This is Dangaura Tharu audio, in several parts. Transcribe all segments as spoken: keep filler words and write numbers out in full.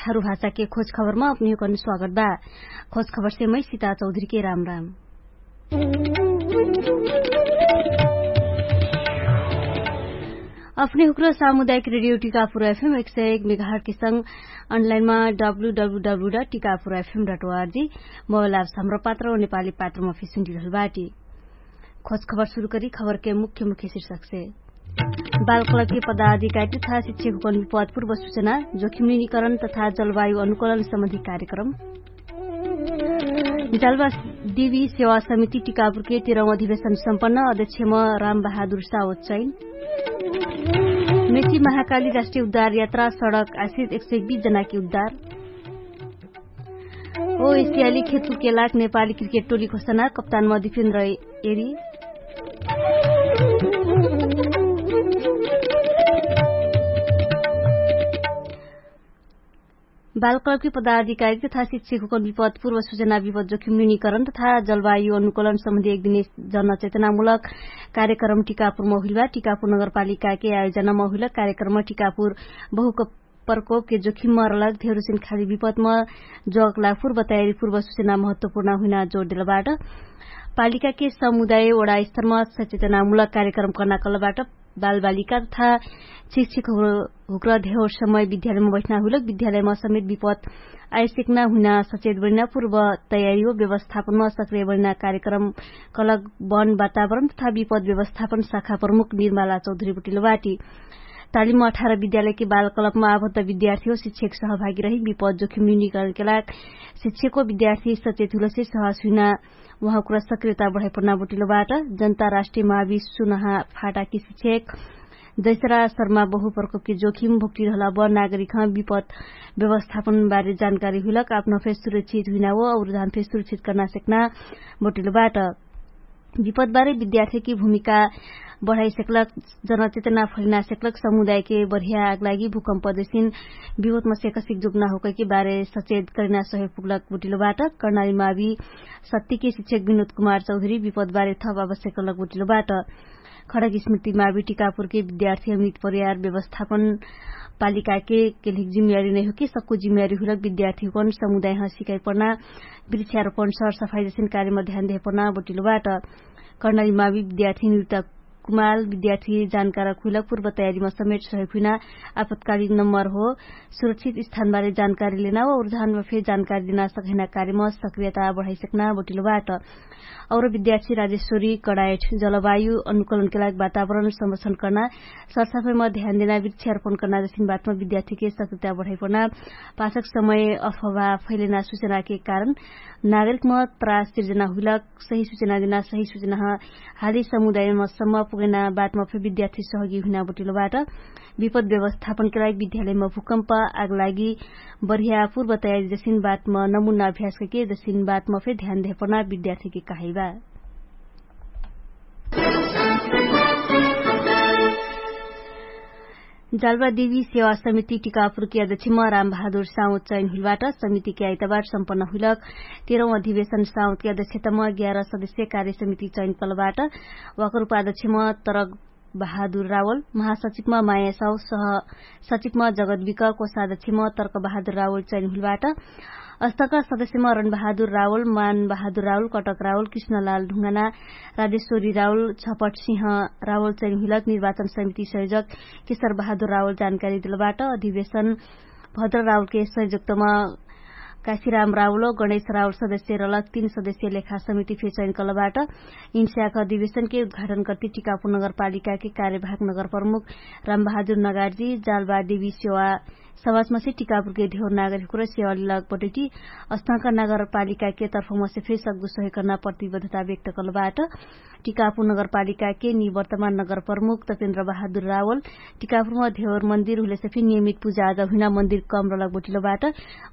थारु भाषाके खोज खबरमा अपनिहुँकन स्वागत बा। खोज खबरसे मै सिता चौधरीके राम राम। अपनिहुँक्र सामुदायिक रेडियो टिकापुर एफएम एक सय एक मेगाहर्टके संग अनलाइनमा W W W dot Tikapur F M dot O R G mobile apps Hamro Patro नेपाली पात्रमा फिसुन्टिरहल बाटी। खोज खबर सुरु करी खबरके मुख्य मुख्य शिर्षकसे। बालकलके पदाधिकारी तथा शिक्षकहुँकन विपदपूर्व सुचना, जोखिम निनिकरण तथा जलवायु अनुकूलन सम्बन्धी कार्यक्रम। जलवा देवी सेवा समिति टिकापुरके तेरौं अधिवेशन सम्पन्न, अध्यक्षम राम बहादुर सावत चैन। मेची महाकाली राष्ट्रिय उद्धार यात्रा सडक आश्रित एक सय बीस जनाके उद्धार। ओ एसियाली खेतुके लाग नेपाली क्रिकेट टोली घोषणा कप्तान मदिपिन्द्र एरी। बालकलके पदाधिकारी तथा शिक्षकहुँकन विपदपूर्व सुचना विपद जोखिम न्यूनिकरण तथा जलवायु अनुकूलन सम्बन्धी एक दिने जनचेतनामुलक कार्यक्रम टिकापुर महुइलबा। टिकापुर नगरपालिकाके आयोजना महुइलक कार्यक्रम टिकापुर बहुक प्रकोपके जोखिम मरलक धेरुसिन खाली विपदम जोकला पूर्व तयारी पूर्व सुचना महत्वपूर्ण हुइना जोडेलबाट। पालिकाके समुदाय ओडा स्तरम सचेतनामुलक कार्यक्रम कर्ना कलबाट। बालबालिका तथा शिक्षकहुँक्र धेर समय विद्यालयमा बैठना हुइलक विद्यालयमा समेत विपद आइसेक्ना हुइना सचेत बनिना पूर्व तयारी हो व्यवस्थापनमा सक्रिय बनिना कार्यक्रम कलक वन वातावरण तथा विपद व्यवस्थापन शाखा प्रमुख निर्माला चौधरी बुटिलो बाटी। तालिम अठार विद्यालयके बालकलपमा आबद्ध विद्यार्थी हो शिक्षक सहभागी रही विपद जोखिम न्यूनिकरणके लाग शिक्षको विद्यार्थी सचेत हुइलसे सहस हुइना उहाँकुरा सक्रियता बढाइपन्ना बुटिलो बाट। जनता राष्ट्रिय महाविश्व नहा फाटाकी शिक्षक जैसरा शर्मा बहु प्रकोपके जोखिम भोक्टिरहला ब नागरिकह विपद व्यवस्थापन बारे जानकारी हुइलक आपन फेर सुरक्षित हुइना हो अउर धान फेर सुरक्षित कर्ना सेक्ना बुटिलो बाट। विपदबारे विद्यार्थीकी भूमिका बढाइसेक्लक जनचेतना फैलिनासेक्लक समुदायके बढिया आगलागी भूकम्प जैसिन विपदमा सेकसिक जुक्ना होकैके बारे सचेत करिना सहयोग पुग्लक बुटिलो बाट। कर्णाली मावी सत्तिके शिक्षक विनोद कुमार चौधरी विपदबारे थप आवश्यक लक बुटिलो बाट। खडक स्मृति मावी टिकापुरके विद्यार्थी अमित परियार व्यवस्थापन पालिकाके केल्हिक जिम्मेवारी नैहोके सक्कु जिम्मेवारी हुइलक विद्यार्थीकन समुदायह सिकाइ पर्ना वृक्षारोपण सरसफाइ जैसिन कार्यमा ध्यान देहे पर्ना बुटिलो बाट। कर्णाली मावी विद्यार्थी निरुता कुमाल विद्यार्थी जानकारक हुइलक पूर्व तयारीमा समेट सहयोग हुइना आपतकालिक नम्बर हो सुरक्षित स्थानबारे जानकारी लेना वा उर्धानमा फेर जानकारी देना सकहिना कार्यमा सक्रियता बढाइसक्ना बुटिलो बाट। अउर विद्यार्थी राजेश्वरी कडायठ जलवायु अनुकूलनके लाग वातावरण संरक्षण कर्ना सरसफाइमा ध्यान देना वृक्षारोपण कर्ना जसिन बातमा विद्यार्थीके सक्रियता बढाइपर्ना पाछक समय अफवा फैलेना सुचनाके कारण नागरिकमा त्रास सिर्जना हुइलक सही सुचना देना सही सुचना हाली समुदायमा सम्म पुगैना बातमा फे विद्यार्थी सहगी हुइना बुटिलो बाट। विपद व्यवस्थापनके लागि विद्यालयमा भूकम्प आगलागी बढिया पूर्व तयारी जसिन बातमा नमुना अभ्यासके जसिन बातमा फे ध्यान देहपर्ना विद्यार्थीके कहाइबा। जालबादेवी सेवा समिति टिकापुरके अध्यक्षमा रामबहादुर साउँ चैन हुइलबाट समितिके आइतबार सम्पन्न हुइलक तेरौं अधिवेशन साउँके अध्यक्षतमा ग्यारह सदस्य कार्य समिति चैन कलबाट। वाकर उपाध्यक्षमा तरक बहादुर रावल महासचिवमा माया साउ सह सचिवमा जगत विक कोषाध्यक्षमा तर्क बहादुर रावल चैन हुइलबाट। अस्तक सदस्यमा रणबहादुर रावल मानबहादुर रावल कटक रावल कृष्णलाल ढुङ्गाना राजेश्वरी रावल छपट सिंह रावल चैन हुइलक निर्वाचन समिति संयोजक केशर बहादुर रावल जानकारी दिलबाट। अधिवेशन भद्र रावलके संयोजकतमा काशीराम रावल गणेश रावल सदस्य रलक तीन सदस्य लेखा समिति फेचैन कलबाट। इन्स्याक अधिवेशनके उद्घाटन कर्ति टिकापुर नगरपालिकाके कार्यभाग नगर प्रमुख रामबहादुर नगार्जी जालबादेवी सेवा समाजमसे टिकापुरके धेवर नागरिककुर सेवा लिलक बटैटी अस्थाक नगरपालिकाके तर्फमसे फेसक दुसहे कर्ना प्रतिबद्धता व्यक्त कलबाट। टिकापुर नगरपालिकाके निवर्तमान नगर प्रमुख तपेन्द्र बहादुर रावल टिकापुरमा धेवर मन्दिर हुलेसे फि नियमित पुजा आजा हुइना मन्दिर कम रलक बटिलो बाट।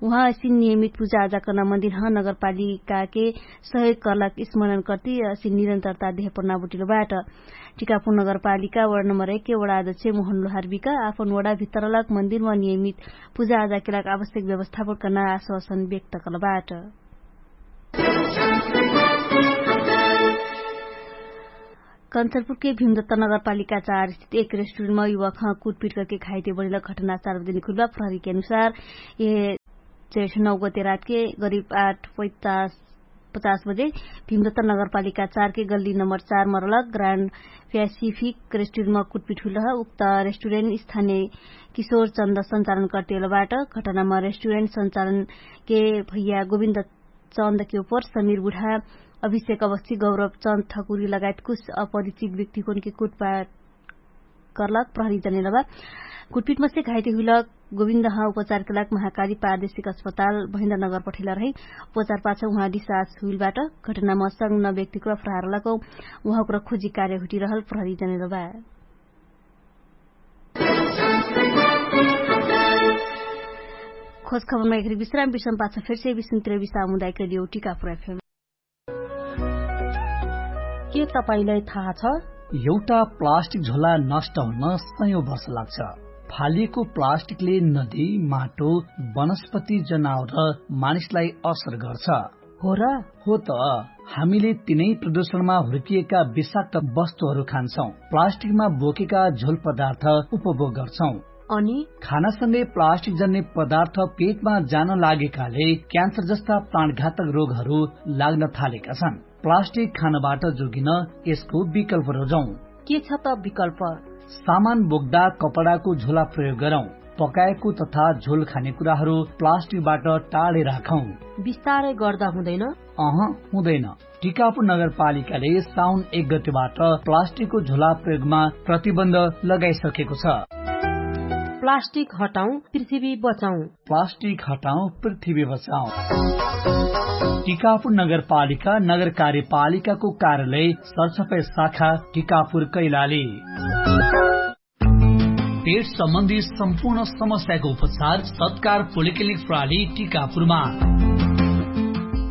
उहाँ असिन नियमित पुजा आजा कर्ना मन्दिर ह नगरपालिकाके सहयोग कर्लाक स्मरण कर्ति असिन निरन्तरता देहपर्ना बटिलो बाट। टिकापुर नगरपालिका वडा नम्बर एक के वडा अध्यक्ष मोहन लोहारबिका आपन वडा भित्तरलक मन्दिरमा नियमित पुजा आजा केलाक आवश्यक व्यवस्थापन कर्ना आश्वासन व्यक्त कर्ल बाट। कन्चरपुरके भिमदत्त नगरपालिका चार स्थित एक रेस्टुरेन्टमा युवाखा कुटपिट करके घाइते बढेला घटना सार्वजनिक हुइलबा। प्रहरीके अनुसार यह चैठ नौ गते रातके गरिब आठ पैचास पचास बजे भिमदत्त नगरपालिका चारके गल्ली नम्बर चार मरलक ग्रान्ड प्यासिफिक रेस्टुरेन्टमा कुटपिट हुइलह। उक्त रेस्टुरेन्ट स्थानीय किशोर चन्द सञ्चालन कर्तेलबाट घटनामा रेस्टुरेन्ट सञ्चालनके भैया गोविन्द चन्दके उपर समीर बुढा, अभिषेक अवस्थी गौरव चन्द ठकुरी लगायत कुछ अपरिचित व्यक्तिकोनके कुटपाट कर्लक प्रहरी जनेलबा। कुटपिटमसे घाइते हुइलक गोविन्दह उपचारके लाग महाकाली पारदेशिक अस्पताल भैन्द्र नगर पठैला रही। उपचार पाछ उहाँ डिसास हुइलबाट घटनामा संग न व्यक्तिक्र फराहरलक उहाँक्र खोजी कार्य हुटिरहल प्रहरी जनेलबा। खोज खबरमा एकरी विश्राम विश्राम पाछ फेरसे विश्राम तिर विश्राम हुँदाइ करियो टिका पुरा फेम। के तपाईंलाई थाहा छ? एउटा प्लास्टिक झोला नष्ट हुन सयौं वर्ष लाग्छ। फालिएको प्लास्टिकले नदी, माटो, वनस्पति, जनावर र मानिसलाई असर गर्छ। हो र? हो त। हामीले तिनै प्रदूषणमा हुर्किएका विषाक्त वस्तुहरू खान्छौं, प्लास्टिकमा बोकेका झोल पदार्थ उपभोग गर्छौं। अनि खानासँगै प्लास्टिक जन्ने पदार्थ पेटमा जान लागेकाले क्यान्सर जस्ता प्राणघातक रोगहरू लाग्न थालेका छन्। प्लास्टिक खानबाट जोगिन यसको विकल्प रोजौं। के छ त विकल्प? सामान बोक्दा कपडाको झोला प्रयोग गरौं। पकाएको तथा झोल खाने कुराहरू प्लास्टिकबाट टाढे राखौं। बिस्तारै गर्दा हुँदैन? अह, हुँदैन। टिकापुर नगरपालिकाले साउन एक गतेबाट प्लास्टिकको झोला प्रयोगमा प्रतिबन्ध लगाइसकेको छ। प्लास्टिक हटाउँ, पृथ्वी बचाउँ। प्लास्टिक हटाउँ, पृथ्वी बचाउँ। टिकापुर नगरपालिका नगर कार्यपालिकाको कार्यालय सरसफाइ शाखा टिकापुर कैलाली। पेट सम्बन्धी सम्पूर्ण समस्याको उपचार सत्कार पोलिक्लिनिक प्रणाली टिकापुरमा।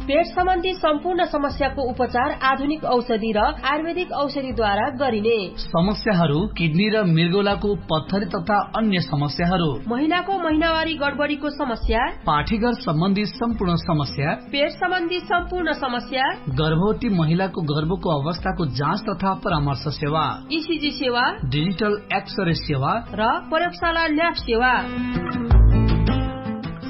पेट सम्बन्धी सम्पूर्ण समस्याको उपचार आधुनिक औषधि र आयुर्वेदिक औषधिद्वारा गरिने। समस्याहरू किडनी र मृगौलाको पत्थरी तथा अन्य समस्याहरू, महिलाको महिनावारी गडबडीको समस्या, पाठीघर सम्बन्धी सम्पूर्ण समस्या, पेट सम्बन्धी सम्पूर्ण समस्या, गर्भवती महिलाको गर्भको अवस्थाको जाँच तथा परामर्श सेवा, इसिजी सेवा, डिजिटल एक्सरे सेवा र प्रयोगशाला ल्याब सेवा।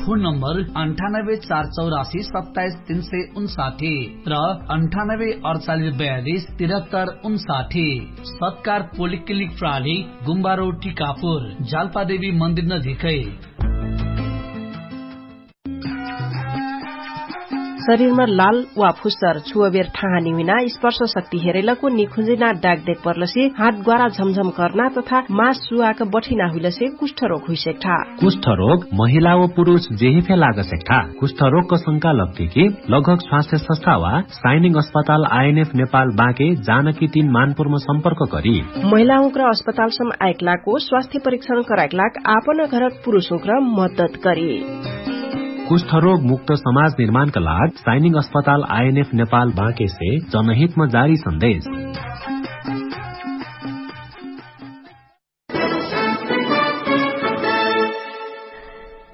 फोन नम्बर अन्ठानब्बे चार चौरासी सत्ताइस तीन सय उन्साठी र अन्ठानब्बे अडचालिस बयालिस तिरहत्तर उन्साठी। सत्कार पोलिक्लिनिक प्रणाली, गुम्बारो टिकापुर, जालपादेवी मन्दिर नजिकै। शरीरमा लाल वा फुस्सर छुवबेर ठाहानी हुइना स्पर्श शक्ति हेरैलको निखुजिना डाक देख पर्लसे हात ग्वारा झमझम कर्ना तथा मास सुवाक बठिना हुइलसे कुष्ठरोग हुइसेक्ठा। कुष्ठरोग महिला व पुरुष जेहिफे लागसेक्ठा। कुष्ठरोगक शंका लग्ठेकी लगभग स्वास्थ्य संस्था वा साइनिङ अस्पताल आइएनएफ नेपाल बाँके जानकी तीन मानपुरमा सम्पर्क करी। महिलाहुँक्र अस्पतालसम आइकलाको स्वास्थ्य परीक्षण कराइकलाक आपन घरक पुरुषहुँक्र मद्दत करी। कुष्ठरोग मुक्त समाज निर्माणका लाग साइनिङ अस्पताल आइएनएफ नेपाल बाँकेसे जनहितमा जारी सन्देश।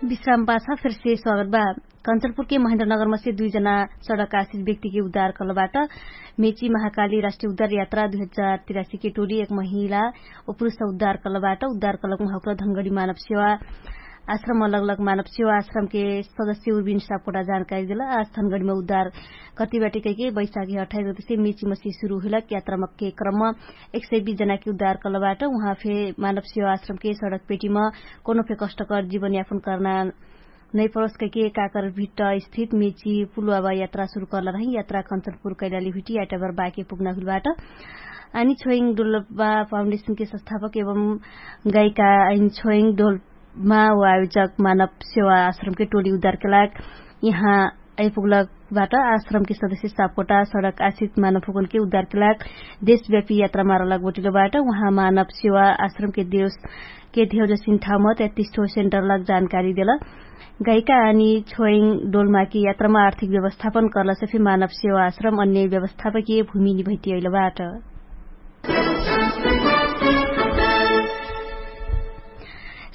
विश्राम पाछा फेरसे स्वागत बा। कन्चनपुरके महेन्द्रनगरमसे दुइजना सडक आश्रित व्यक्तिके उद्धार कलबाट। मेची महाकाली राष्ट्रिय उद्धार यात्रा दुई हजार तिरासीके टोली एक महिला व पुरुष उद्धार कलबाट। उद्धार कलक उहाँक्र धनगडी मानव सेवा आश्रम अलग अलग मानव सेवा आश्रमके सदस्य उर्बिन सापकोटा जानकारी देला। आज धनगडीमा उद्धार कति बाटी कैके बैशाखी अठाइस गतिसे मेची मसी सुरु हुइलक यात्रामके क्रम एक सय बीस जनाके उद्धार कलबाट। उहाँ फे मानव सेवा आश्रमके सडक पेटीमा कोनो फे कष्टकर जीवन यापन कर्ना नैपरोस कैके काकर भिट्ट स्थित मेची पुलुवाबा यात्रा सुरु कर्ला रही। यात्रा कन्चनपुर कैलाली हुइटी आइटाबर बाके पुग्ना हुइलबाट। अनि छोइङ डोल्बा फाउन्डेशनके संस्थापक एवं गाइका अनि छोइङ डोल्बा मा वा आयोजक मानव सेवा आश्रमके टोली उद्धारके लाग यहाँ आइपुग्लक बाट आश्रमके सदस्य सापकोटा सडक आश्रित मानव हुकुनके उद्धारके लाग देशव्यापी यात्रा मारलक बटिलो बाट। उहाँ मानव सेवा आश्रमके देवसके धेउजसिन ठाउँमा तैतिस ठो सेन्टरलक जानकारी देल। गाइका अनि छोइङ डोल्माकी यात्रामा आर्थिक व्यवस्थापन कर्लसे फे मानव सेवा आश्रम अन्य व्यवस्थापकीय भूमि निभैतियैलबाट।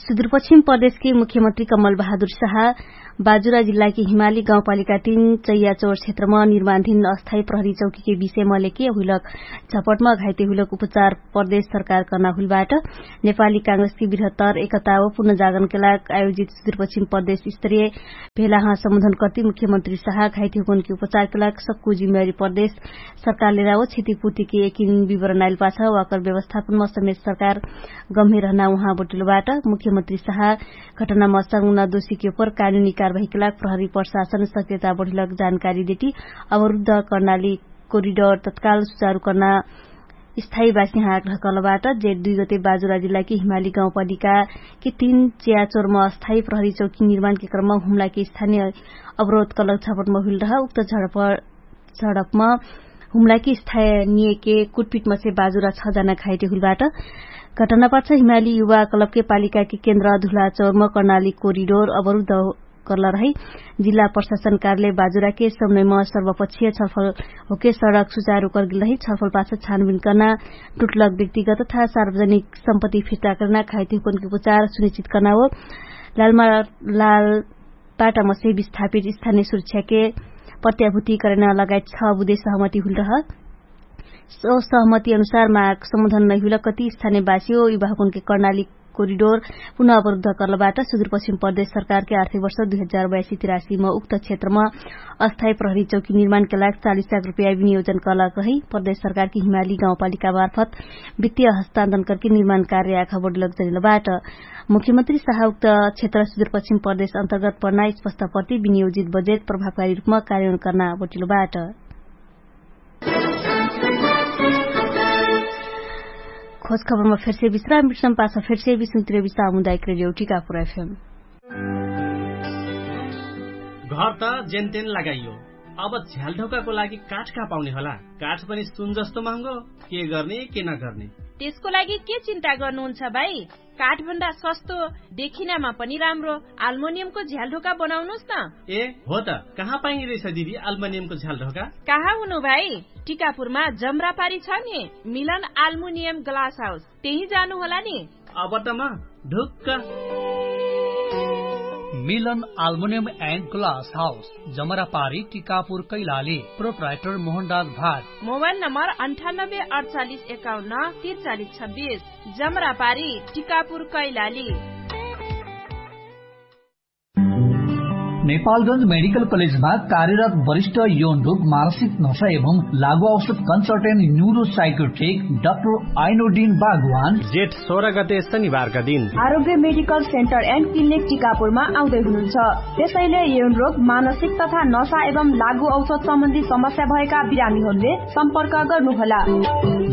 सुदूरपश्चिम प्रदेशके मुख्यमन्त्री कमल बहादुर साहा बाजुरा जिल्लाकी हिमाली गाउँपालिका तीन चैयाचोर क्षेत्रमा निर्माणधिन अस्थायी प्रहरी चौकीके विषयमा लेके हुइलक झपटमा घाइते हुइलक उपचार प्रदेश सरकार कर्ना हुइलबाट नेपाली काङ्ग्रेसकी बृहत्तर एकता व पुनर्जागरणके लाग आयोजित सुदूरपश्चिम प्रदेश स्तरीय भेलाह सम्बोधन कर्ति मुख्यमन्त्री साहा घाइते हुकनकी उपचारके लाग सक्कु जिम्मेवारी प्रदेश सरकारले राव क्षतिपूर्तिके एकिन विवरण आइलपाछ वाकर व्यवस्थापनमा समेत सरकार गम्हे रहना उहाँ बटिलोबाट मुख्यमन्त्री साहा घटनामा सङ्गुना दोषीके उपर कानुनी कारवाहीके लाग प्रहरी प्रशासन सक्रियता बढिलक जानकारी देटी अवरुद्ध कर्नाली कोरिडर तत्काल सुचारु कर्ना स्थायी बासिहाँ आग्रह कर्लबाट जेठ दुई गते बाजुरा जिल्लाकी हिमाली गाउँपालिकाकी तीन च्याचोरमा अस्थायी प्रहरी चौकी निर्माणके क्रममा हुम्लाकी स्थानीय अवरोध कर्लक झपटमा हुइलरह उक्त झडप झडपमा हुम्लाकी स्थायी नियके कुटपिटमा से बाजुरा छ जना घाइटे हुइलबाट घटनापाछ हिमाली युवा क्लबके पालिकाके केन्द्र धुलाचौरमा कर्नाली कोरिडोर अवरुद्ध कर्ला रही। जिल्ला प्रशासन कार्यालय बाजुराके समयमा सर्वपक्षीय छलफल होके सडक सुचारु कर्गिल रही छलफलपाछ छानबिन कर्ना टुटलक व्यक्तिगत तथा सार्वजनिक सम्पत्ति फिर्ता कर्ना घाइते हुकनके उपचार सुनिश्चित कर्ना हो। लालमा लाल पाटामसे विस्थापित स्थानीय सुरक्षाके प्रत्याभूति करैना लगायत छ बुधे सहमति हुइलरह। सो सहमति अनुसार माग सम्बोधन नैहुइल कति स्थानीय बासियो युवाहुकुनके कर्णाली कोरिडोर पुनः अवरुद्ध कर्लबाट सुदूरपश्चिम प्रदेश सरकारके आर्थिक वर्ष दुई हजार बयासी तिरासीमा उक्त क्षेत्रमा अस्थायी प्रहरी चौकी निर्माणके लाग चालिस लाख रुपैया विनियोजन कर्लक रही प्रदेश सरकारके हिमाली गाउँपालिका मार्फत वित्तीय हस्तान्तरण करके निर्माण कार्य आखा बढिलक जनिलबाट। मुख्यमन्त्री साहा उक्त क्षेत्र सुदूरपश्चिम प्रदेश अन्तर्गत पर्ना स्पष्ट प्रति विनियोजित बजेट प्रभावकारी रुपमा कार्यान्वयन कर्ना बटिलोबाट। खोज खबरमा फेर्से विश्राम विश्राम पाछ फेर्से विश्राम तिरे विश्राम हुँदा एक रेडियो टिकापुर एफएम। घर त जेनतेन लगाइयो, अब झ्यालढोकाको लागि काठ कहाँ पाउने होला? काठ पनि सुन जस्तो महँगो। के गर्ने के नगर्ने? त्यसको लागि के चिन्ता गर्नुहुन्छ भाइ? काठभन्दा सस्तो, देखिनामा पनि राम्रो आल्मोनियमको झ्यालढोका बनाउनुस् न। ए हो त, कहाँ पाइने रहेछ दिदी आल्मोनियमको झ्यालढोका? कहाँ हुनु भाइ? टिकापुरमा जमरापारी छ नि, मिलन आल्मुनियम ग्लास हाउस, त्यही जानु होला नि। अब त म ढुक्क। मिलन आल्मुनियम एन्ड ग्लास हाउस, जमरापारी टिकापुर कैलाली। प्रोप्राइटर मोहनराज भाट। मोबाइल नम्बर अन्ठानब्बे अडचालिस एकाउन्न तिरचालिस छब्बिस। जमरापारी टिकापुर कैलाली। नेपालगंज मेडिकल कलेजमा कार्यरत वरिष्ठ यौन रोग मानसिक नशा एवं लागु औषध कन्सल्टेन्ट न्युरो साइकोट्रिक डाक्टर आइनोडिन बागवान जेठ सोह्र गते शनिबारका दिन आरोग्य मेडिकल सेन्टर एन्ड क्लिनिक टिकापुरमा आउँदै हुनुहुन्छ। त्यसैले यौन रोग मानसिक तथा नशा एवं लागु औषध सम्बन्धी समस्या भएका बिरामीहरूले सम्पर्क गर्नुहोला।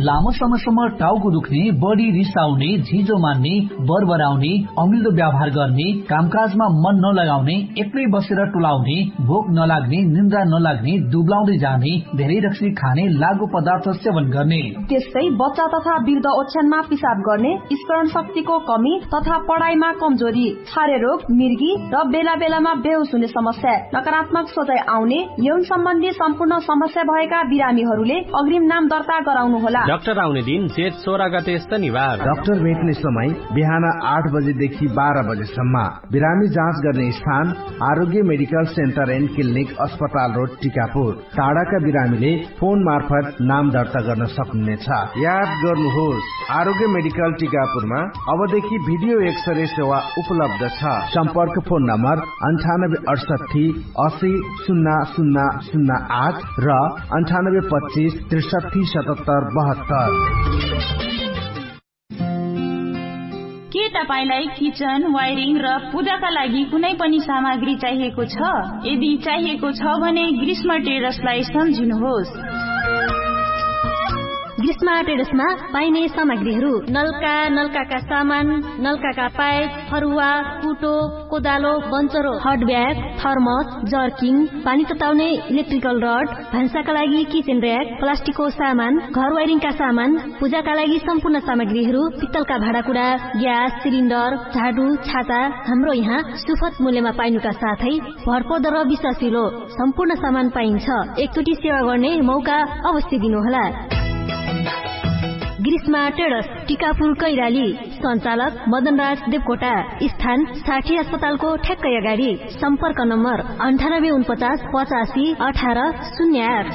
लामो समयसम्म टाउको दुख्ने, बढी रिसाउने, झिजो मान्ने, बरबराउने, अमिल्दो व्यवहार गर्ने, कामकाजमा मन नलगाउने, एक्लै बसेर टुलाउने, भोक नलाग्ने, निन्द्रा नलाग्ने, दुब्लाउँदै जाने, धेरै रक्सी खाने, लागु पदार्थ सेवन गर्ने। त्यस्तै बच्चा तथा वृद्ध ओछ्यानमा पिसाब गर्ने, स्मरण शक्तिको कमी तथा पढाइमा कमजोरी, छारे रोग, मिर्गी र बेला बेलामा बेहोस हुने समस्या, नकारात्मक सोचाइ आउने, यौन सम्बन्धी सम्पूर्ण समस्या भएका बिरामीहरूले अग्रिम नाम दर्ता गराउनु होला। डाक्टर आउने दिन जेठ सोह्र गते शनिबार। डाक्टर भेट्ने समय बिहान आठ बजेदेखि बाह्र बजेसम्म। बिरामी जाँच गर्ने स्थान आरोग्य मेडिकल सेन्टर एन्ड क्लिनिक अस्पताल रोड टिकापुर। टाढाका बिरामीले फोन मार्फत नाम दर्ता गर्न सक्नुहुनेछ। याद गर्नुहोस, आरोग्य मेडिकल टिकापुरमा अबदेखि भिडियो एक्सरे सेवा उपलब्ध छ। सम्पर्क फोन नम्बर अन्ठानब्बे अठसट्ठी असी सुन्ना सुन्ना सुन्ना आठ र अन्ठानब्बे पच्चिस त्रिसट्ठी सतहत्तर बहत्तर। के तपाईंलाई किचन वायरिङ र पूजाका लागि कुनै पनि सामग्री चाहिएको छ? यदि चाहिएको छ भने ग्रीष्म ट्रेडर्सलाई सम्झिनुहोस्। ग्रीष्म ट्रेडर्समा पाइने सामग्रीहरू नलका, नलकाका सामान, नलकाका पाइप, फरुवा, कुटो, कोदालो, बन्चरो, हटब्याग, थर्मस, जर्किङ, पानी तताउने इलेक्ट्रिकल रड, भान्साका लागि किचेन र्याक, प्लास्टिकको सामान, घर वायरिङका सामान, पूजाका लागि सम्पूर्ण सामग्रीहरू, पित्तलका भाँडाकुडा, ग्यास सिलिन्डर, झाडु, छाता, हाम्रो यहाँ सुफत मूल्यमा पाइनुका साथै भरपर्दो र विश्वासिलो सम्पूर्ण सामान पाइन्छ। एकचोटि सेवा गर्ने मौका अवश्य दिनुहोला। ग्रीष्मा ट्रेडर्स, टिकापुर कैलाली। सञ्चालक मदनराज देवकोटा। स्थान साठी अस्पतालको ठ्याक्कै अगाडि। सम्पर्क नम्बर अन्ठानब्बे उनपचास पचासी अठार शून्य आठ।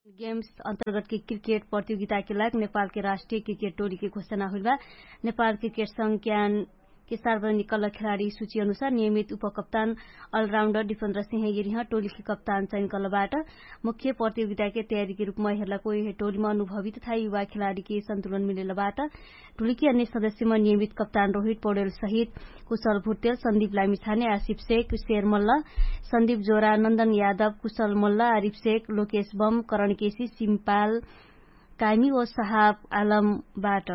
गेम्स अन्तर्गतके क्रिकेट प्रतियोगिताके लाग नेपालके राष्ट्रिय क्रिकेट टोलीके घोषणा हुइलबा। नेपाल क्रिकेट संज्ञानके सार्वजनिक कल्ल खेलाडी सुची अनुसार नियमित उपकप्तान अलराउन्डर डिफन्द्र सिंह यरिह टोलीके कप्तान चैन कल्लबाट। मुख्य प्रतियोगिताके तयारीके रूपमा हेर्लाको यहे टोलीमा अनुभवी तथा युवा खेलाडीके सन्तुलन मिलेलबाट। टुलिकी अन्य सदस्यमा नियमित कप्तान रोहित पौडेल सहित कुशल भुर्तेल सन्दीप लामिछाने आसिप सेक कुशेर मल्ल सन्दीप जोरा नन्दन यादव कुशल मल्ल आरिप सेक लोकेश बम करणकेशी सिम्पाल काइमी ओ सहाब आलमबाट।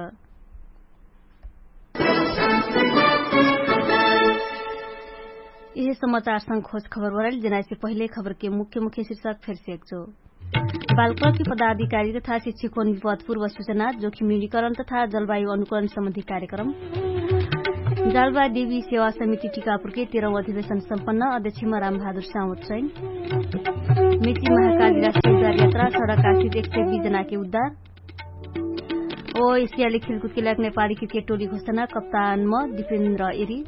यहे समाचारसँग खोज खबर बराइल जनाइसे पहिले खबरके मुख्य मुख्य शिर्षक फेरसेक जो बालकलकी पदाधिकारी तथा शिक्षिकोन विपदपूर्व सुचना जोखिम निकरण तथा जलवायु अनुकरण सम्बन्धी कार्यक्रम। जालबा देवी सेवा समिति टिकापुरके तेरौं अधिवेशन सम्पन्न अध्यक्षमा रामबहादुर सावत सैन। मेची महाकाली राष्ट्रिय जालयात्रा सडक आश्रित एक सय बीस जनाके उद्धार। ओ एसियाली खेलकुदके लाग नेपाली क्रिकेट टोली घोषणा कप्तान म दिपेन्द्र एरी।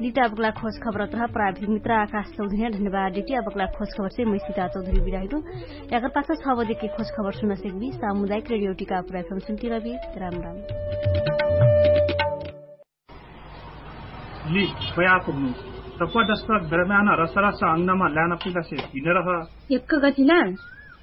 लिटा अबकला खोज खबर अत्रह प्राविधिक मित्र आकाश चौधरी धन्यवाद डिटी अबकला खोज खबर से मैसिता चौधरी बिराहिलो। याकर पाछा छ बजेके खोज खबर सुनसेक बी सामुदायिक रेडियो टिका पुराइ फम सुन्तिरबी। राम राम। लि, खोया पुग्नु। तप्वा दस्तक ब्रह्म्यान रसरस अंगनमा ल्यान पुग्लासे हिँडरह। एक्क गतिना,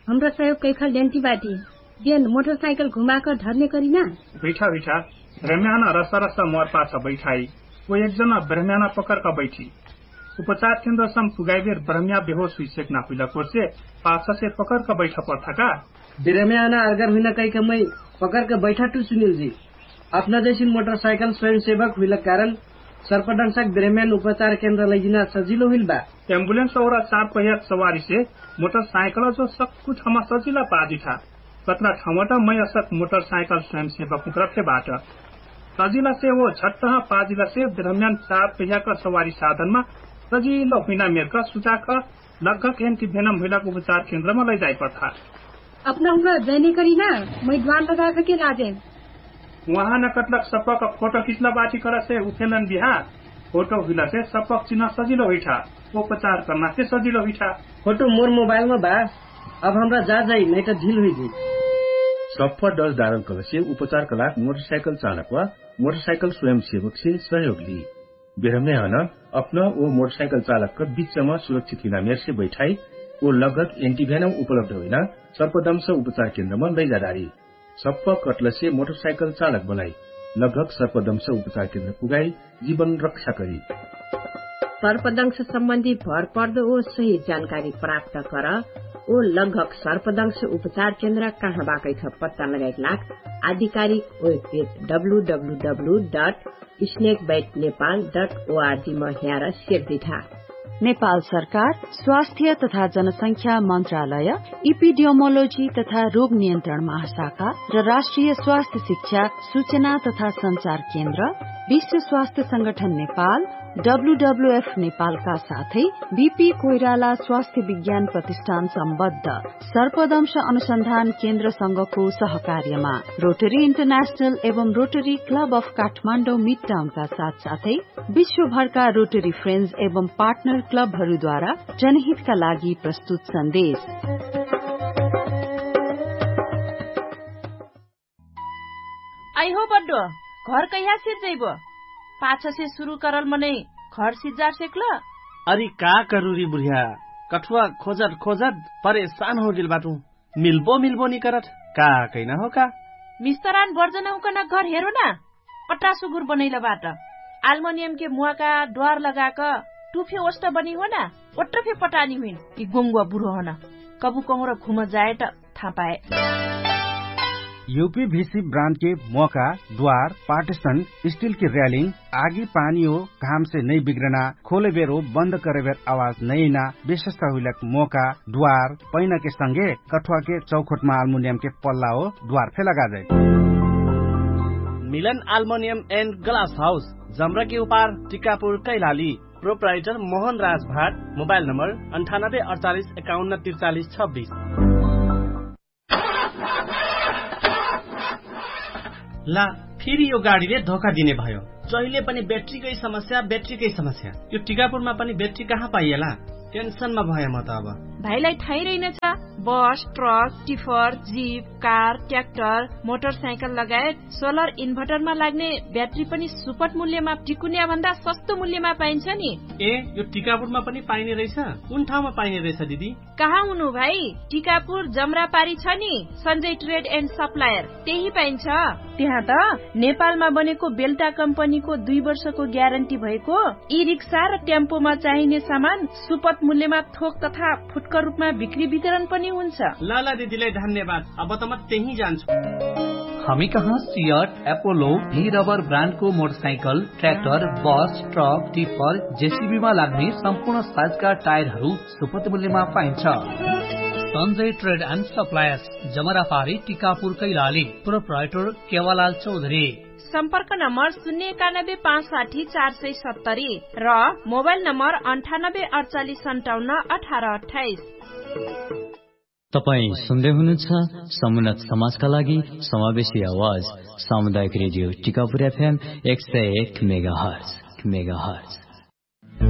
हमरा सहयोग कैखल ल्यान्ति बाटी। बेन मोटरसाइकल घुमाक धर्ने करिना। हुइठा हुइठा। ब्रह्म्यान रसरस मोर पाछ बैठाइ। ओ एकजना ब्रह्म्यान पकरक बैठी। उपचार केन्द्रसम पुगाइबेर ब्रह्म्या बेहोस हुइसेक ना हुइला कोर्से पाछसे पकरक बैठा पर्थाका। ब्रह्म्यान अर्गर हुइना कैक मै पकरक बैठा टु सुनिल जी। अपना जैसिन मोटरसाइकल स्वयंसेवक हुइला कारण सर्पदंशक ब्रह्म्यान उपचार केन्द्र लैजिना सजिलो हुइल बा। एम्बुलेन्स और चार पहियाक सवारीसे मोटरसाइकल जो सक्कु ठाउँमा सजिला पाजिठा। कत्रा ठाउँबाट मै असक मोटरसाइकल स्वयंसेवक उत्रफे बाट। सजिलासे ओ झट्टह पाजिलासे ब्रह्म्यान चार पहियाक सवारी साधनमा सजिलो हुइना मेरक सुचाक लगक एन्टिभेनम हुइलाक उपचार केन्द्रमा लैजाइ पठा। अपना हुआ जैने करिना मै द्वार लगाक के लाजे। उहाँ न कटलक सपक फोटो खिचला बाटी करसे उफेलन बिहा। फोटो हुइलासे सपक चिन्ह सजिलो हुइठा। उपचार कर्नासे सजिलो हुइठा। फोटो मोर मोबाइलमा बा। अब हमरा जा जाइ नैत ढिल हुइजी। सप्प डस डारल कलसे उपचार कलाक मोटरसाइकल चालक वा मोटरसाइकल स्वयंसेवकसे सहयोग ली। बेरम्याहन अपना ओ मोटरसाइकल चालकक बिच्चमा सुरक्षित हुइना मेरसे बैठाइ ओ लगक एन्टिभ्यानम उपलब्ध हुइना सर्पदंश उपचार केन्द्रमा लैजादारी। सप्प कटलसे मोटरसाइकल चालक बनाइ लगक सर्पदंश उपचार केन्द्र पुगाइ जीवन रक्षा करी। सर्पदंश सम्बन्धी भरपर्द ओ सही जानकारी प्राप्त कर ओ लगक सर्पदंश उपचार केन्द्र कहाँ बाकैठ पत्ता लगाइक लाग आधिकारिक webpage W W W dot snake bite Nepal dot ओआरजी म ह्यार सेर्दिठा। नेपाल सरकार स्वास्थ्य तथा जनसंख्या मन्त्रालय, इपिडियोमोलोजी तथा रोग नियन्त्रण महाशाखा र राष्ट्रिय स्वास्थ्य शिक्षा सूचना तथा सञ्चार केन्द्र, विश्व स्वास्थ्य संगठन नेपाल, डब्लुडब्लुएफ नेपालका साथै बिपी कोइराला स्वास्थ्य विज्ञान प्रतिष्ठान सम्बद्ध सर्पदंश अनुसन्धान केन्द्रसँगको सहकार्यमा रोटरी इन्टरनेशनल एवं रोटरी क्लब अफ काठमाडौँ मिडटाउनका साथसाथै विश्वभरका रोटरी फ्रेन्ड्स एवं पार्टनर क्लबहरूद्वारा जनहितका लागि प्रस्तुत सन्देश। आइहो बड्डो, घर कैहा सिर्जैबो? पाछसे सुरु करल मनै घर सिर्जार सेक्ल? अरि का करुरी बुढिया, कठुवा खोजत खोजत परेशान होगेल बाटु। मिल्बो मिल्बो निकरत का कैना हो का? मिस्तरान बर्जन हुकन घर हेरो ना। अट्रा सुगुर बनैल बाट। आल्मोनियम के मुवाका द्वार लगाक टुफे ओष्ट बनी हो ना। ओट्र फे पटानी हुइन कि गोंगुवा बुरो हन। कबु कहुँर घुम जायट थापाए। युपीभिसी ब्रान्डके मोका द्वार पार्टिसन स्टिलके र्यालिङ आगी पानी हो घामसे नै बिग्रना खोलेबेर हो बन्द करेबेर आवाज नैना विशेषता हुइलक मोका द्वार पैनाके संगे कठुवाके चौखोटमा आल्मुनियमके पल्ला हो द्वार फे लगाजै। मिलन आल्मुनियम एन्ड ग्लास हाउस। जम्रकी उपार टिकापुर कैलाली। प्रोप्राइटर मोहन राज भाट। मोबाइल नम्बर अन्ठानब्बे अडचालिस एकाउन्न त्रिचालिस छब्बिस। ला, फेरि यो गाडीले धोका दिने भयो। जहिले पनि ब्याट्रीकै समस्या, ब्याट्रीकै समस्या। यो टिकापुरमा पनि ब्याट्री कहाँ पाइएला? टेन्सनमा भए म त अब। भाइलाई थाहै रहेनछ, बस, truck, tipper, zip, car, tractor, motorcycle लगायत सोलर इन्भर्टरमा लाग्ने ब्याट्री पनि सुपट मूल्यमा टिकुन्या भन्दा सस्तो मूल्यमा पाइन्छ नि। ए, यो टिकापुरमा पनि पाइने रहेछ? कुन ठाउँमा पाइने रहेछ दिदी? कहाँ हुनु भाइ? टिकापुर जमरापारी छ नि, सञ्जय ट्रेड एन्ड सप्लायर, त्यही पाइन्छ। त्यहाँ त नेपालमा बनेको बेल्टा कम्पनीको दुई वर्षको ग्यारेन्टी भएको ई रिक्सा र टेम्पोमा चाहिने सामान सुपथ मूल्यमा थोक तथा फुटकर रूपमा बिक्री वितरण पनि हुन्छ। ल ल दिदीलाई धन्यवाद। अब त म त्यही जान्छु। हामी कहाँ सियट एपोलो भी रबर ब्रान्डको मोटरसाइकल, ट्र्याक्टर, बस, ट्रक, टिप्पर, जेसिबीमा लाग्ने सम्पूर्ण साइजका टायरहरू सुपथ मूल्यमा पाइन्छ। सञ्जय ट्रेड एन्ड सप्लायर्स, जमरापारी, टिकापुर, कैलाली। प्रोप्राइटर केवालाल चौधरी। सम्पर्क नम्बर शून्य एकानब्बे पाँच साठी चार सय सत्तरी र मोबाइल नम्बर अन्ठानब्बे अडचालिस सन्ताउन्न अठार अठाइस। तपाईँ सुन्दै हुनुहुन्छ समुन्नत समाजका लागि समावेशी आवाज, सामुदायिक रेडियो टिकापुर एफएम एक सय एक मेगाहर्ज। मेगाहर्ज।